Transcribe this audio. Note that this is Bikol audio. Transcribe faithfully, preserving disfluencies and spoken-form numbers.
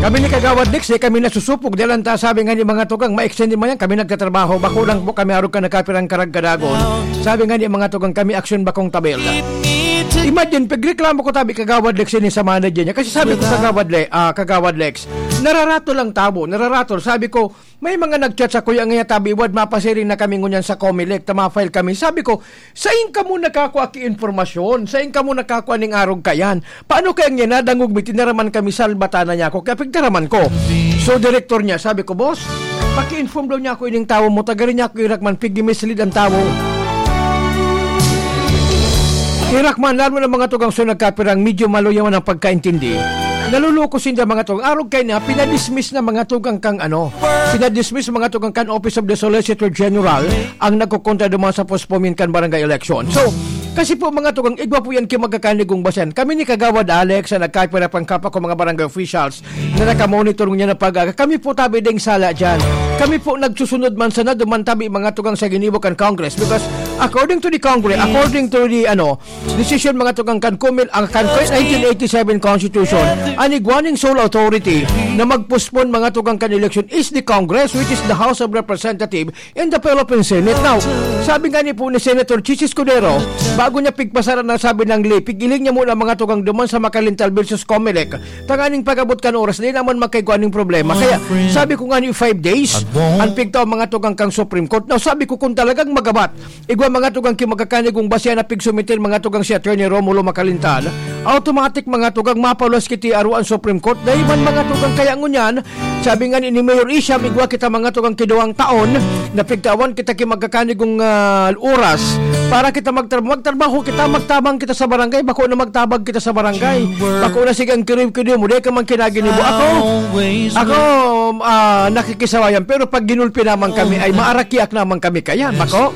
Kami ni Kagawad Lex, eh, kami nasusupog. Dahil ang ta-, sabi nga ni mga tugang, ma-extend din man yan, kami nagtatrabaho. Bako lang po kami arog ka nakapirang karagkadagon. Sabi nga ni mga tugang, kami aksyon bakong tabel. Imagine, pagreklamo ko tabi Kagawad Lex, ini sa manager niya. Kasi sabi ko, Kagawad Le-, ah, Kagawad Lex, nararato lang tabo, nararato. Sabi ko, may mga nag-chat sa kuya nga tabi, wad mapasiring na kami ngunyan sa Comelec, ta ma-file kami. Sabi ko, sain kamo nakakua ki impormasyon? Sain kamo nakakua ning arog kayan? Paano kaya niya nadangog mi, tinaraman kami, salbata na niya ako, kaya pigtaraman ko. So, direktor niya, sabi ko, "Boss, paki-inform daw niya ako ining tawo mo, tagarin niya ako irakman, pigi-mislead ang tawo." Irakman, lalo na mga tugang so nagkapirang medyo maluyawan ang pagkaintindi. Naluloko sinda mga tugang. Arog kay na, pinadismiss na mga tugang kang ano, pinadismiss mga tugang kan Office of the Solicitor General ang nagkukontra duman sa postponement kan barangay election. So, kasi po mga tugang, igwa po yan ki magkakanigong basehan. Kami ni Kagawad Alex na nagkapira pang kapa ko mga barangay officials na nakamonitor niya na pag-aga. Kami po tabi ding sala dyan. Kami po nagsusunod man sana duman tabi mga tugang sa ginibo kan Congress. Because according to the Congress, according to the ano, decision mga tugang kan Kumil, ang kan nineteen eighty-seven Constitution, ang igwa ning sole authority na mag-postpone mga tugang kan election is the Congress, which is the House of Representatives in the Philippine Senate. Now, sabi nga ni po ni Senator Chichi Escudero, bago niya pigpasaran ang sabi ng lay, pigiling niya muna mga tugang duman sa Makalintal versus Comelec. Tanganing pag-abot kan oras, di naman magkaigwa ning problema. Kaya sabi ko nga ni five days, ang pigtao mga tugang kang Supreme Court. Now, sabi ko kung talagang magabat, igwa mga tugang ki magkakanigong basehan na pigsumiter mga tugang si Attorney Romulo Makalintal, automatic mga tugang mapaluwas kiti aro ang Supreme Court. Dahil man mga tugang kaya ngunyan, sabi nga ni, ni Mayor Isham, igwa kita mga tugang ki duwang taon na pigtawan kita ki magkakanigong, ah, oras para kita magtra-, magtrabaho kita, magtabang kita sa barangay, bako na magtabang kita sa barangay. Bako na sige ang kiriw-kiriw mo, di ka man kinaginibo. Ako, ako, ah, nakikisawayan, pero pag ginulpi naman kami, ay maarakiak naman kami kaya, bako?